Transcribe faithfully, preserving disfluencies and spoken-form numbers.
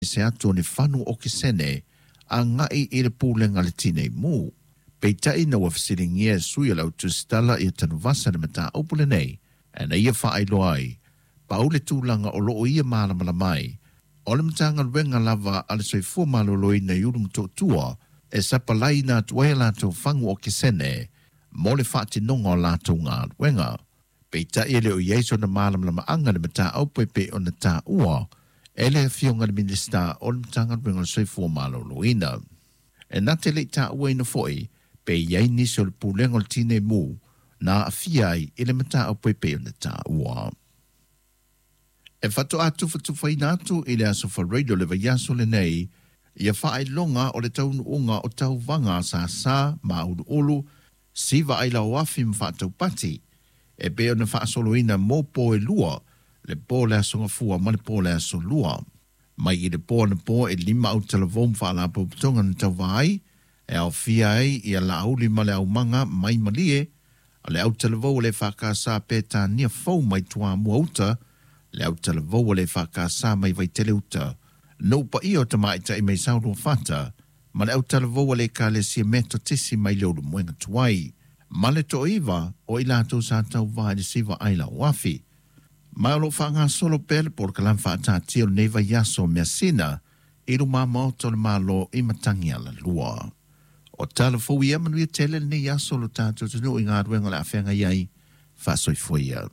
Se atu o ni fanu o kisene a ngai i le pulega le tinei mu. Peitai na ua fesiligia e sui o le autusitala ia Tanuvasa le mataupu lenei, e na ia faailoa ai, pau le tulaga o loo ia malamalama ai, o le Matagaluega lava a le Soifua Maloloina i Ulu Motootua e sapalai atu ai latou fagu okesene mo le faatinoga o latou galuega. Peitai e le o i ai sona malamalamaaga le mataupu e pei ona taua e le afioga le Minisita o le Matagaluega o le Soifua Maloloina. E na te le i taua foi pe i ai nisi o le pulega o le tinei mu na aafia ai i le mataupu e pei ona taua. E faatoa tufatufaina atu i le aso Faraile o le vaiaso lenei ia faailoga o le taunuuga o tauvaga sasa ma uluulu siva ai lauafi ma faataupati e pei ona faasoloina mo po e lua, le po le aso Gafua ma le po le aso Lua. Mai i le po anapo e lima autalavou ma faalapotopotoga na tauva ai, e aofia ai ia Laauli ma le Aumaga mai Malie, le autalavou o le F K S Petania fou mai Toamua Uta, le autalavou o le F K S mai Vaitele Uta, no pa ia o tamaitai mai Sauluafata, ma le autalavou o le Ekalesia Metotisi mai le Ulumoega Tuai, ma le toiva o i latou sa tauva i le siva ai lauafi. Ma o lo faagasolo pea le polokalame faataatia o lenei vaiaso measina i luma maota o le Malo i Matagi Alalua. O tala fou ia manuia tele lenei aso lo tatou atunuu i galuega o le a feagai ai faasoifua ia.